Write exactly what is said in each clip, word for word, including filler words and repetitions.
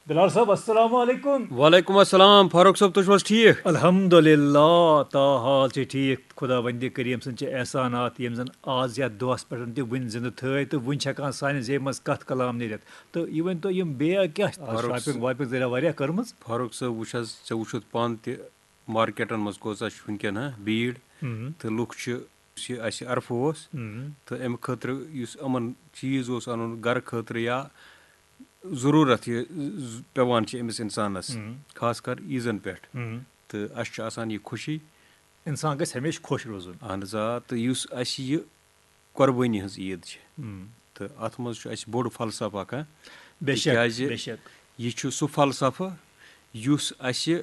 بلال صٲب، السلام علیکم۔ وعلیکم السلام فاروق صٲب، تُہۍ چھِو حظ ٹھیٖک؟ الحمدللہ، تا حال چھِ ٹھیٖک۔ خداوندِ کریم سٕنٛدۍ چھِ احسانات، یِم زَن آز یَتھ دۄہَس پٮ۪ٹھ تہِ وٕنہِ زِندٕ تھٲے تہٕ وٕنہِ چھِ ہٮ۪کان سانہِ زیٚیہِ منٛز کَتھ کلام نیٖرِتھ۔ تہٕ یہِ ؤنۍ تو، یِم بیٚیہِ کیٛاہ آز فاروق شاپِنٛگ صٲب۔ واپِنٛگ ذٔریعہ واریاہ کٔرمٕژ؟ فاروق صٲب، وٕچھ حظ، ژےٚ وٕچھُتھ پانہٕ تہِ مارکیٹَن منٛز کۭژاہ چھِ وٕنکٮ۪ن ہا بھیٖڑ۔ ہُم۔ تہٕ لُکھ چھِ، یُس یہِ اَسہِ عرفہٕ اوس، ہُم۔ تہٕ اَمہِ خٲطرٕ یُس یِمَن چیٖز اوس اَنُن گَرٕ خٲطرٕ یا ضروٗرت یہِ ز- پٮ۪وان چھِ أمِس اِنسانَس، ہُم۔ خاص کر عیٖزَن پٮ۪ٹھ۔ ہُم۔ تہٕ اَسہِ چھُ آسان یہِ خوشی۔ اِنسان گژھِ ہمیشہِ خۄش روزُن۔ اہن حظ آ، تہٕ یُس اَسہِ یہِ قۄربٲنی ہٕنٛز عیٖد چھِ، ہُم۔ تہٕ اَتھ منٛز چھُ اَسہِ بوٚڑ فلسفہٕ اَکھ، ہا؟ بے شک، تِکیٛازِ بے شک۔ یہِ چھُ سُہ فلسفہٕ یُس اَسہِ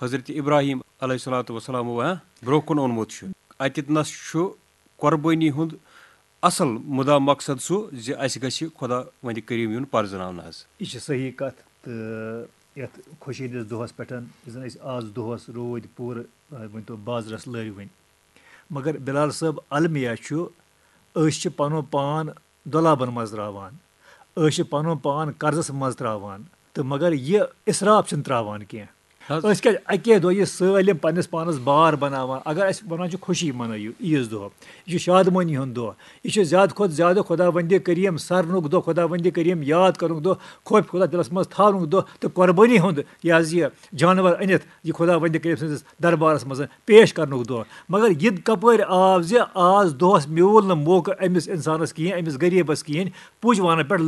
حضرت ابراہیم علیہ الصلوۃ والسلام، ہا، برونٛہہ کُن اوٚنمُت چھُ۔ اَتٮ۪تھ نَس چھُ قۄربٲنی ہُنٛد اَصٕل مُدا مقصد سُہ زِ اَسہِ گژھِ خۄداوندِ کریم یُن پرزناونہٕ حظ۔ یہِ چھِ صحیح کَتھ۔ تہٕ یَتھ خوشی ہِنٛدِس دۄہَس پٮ۪ٹھ، یُس زَن أسۍ آز دۄہَس روٗدۍ پوٗرٕ، آ، ؤنۍ تو بازرَس لٲرۍ وٕنۍ۔ مگر بلال صٲب، المیہ چھُ، أسۍ چھِ پَنُن پان دۄلابَن منٛز ترٛاوان، أسۍ چھِ پَنُن پان قرضَس منٛز ترٛاوان، تہٕ مگر یہِ اِسراف چھِنہٕ ترٛاوان کینٛہہ۔ حظ۔ أسۍ کیٛازِ اَکے دۄہ یہِ سٲلِم پنٛنِس پانَس بار بَناوان؟ اگر أسۍ وَنان چھِ خوشی مَنٲیِو عیٖذ دۄہ، یہِ چھُ شادمٲنی ہُنٛد دۄہ، یہِ چھُ زیادٕ کھۄتہٕ زیادٕ خۄداوندِ کریم سَرنُک دۄہ، خۄداوندِ کریم یاد کَرنُک دۄہ، خوف خۄدا دِلَس منٛز تھاونُک دۄہ، تہٕ قۄربٲنی ہُنٛد، یہِ حظ یہِ جانوَر أنِتھ یہِ خۄداوندِ کریم سٕنٛدِس دربارَس منٛز پیش کَرنُک دۄہ۔ مگر یہِ کَپٲرۍ آو زِ آز دۄہَس میوٗل نہٕ موقعہٕ أمِس اِنسانَس کِہیٖنۍ، أمِس غریٖبَس کِہیٖنۍ، پُج وانَن پٮ۪ٹھ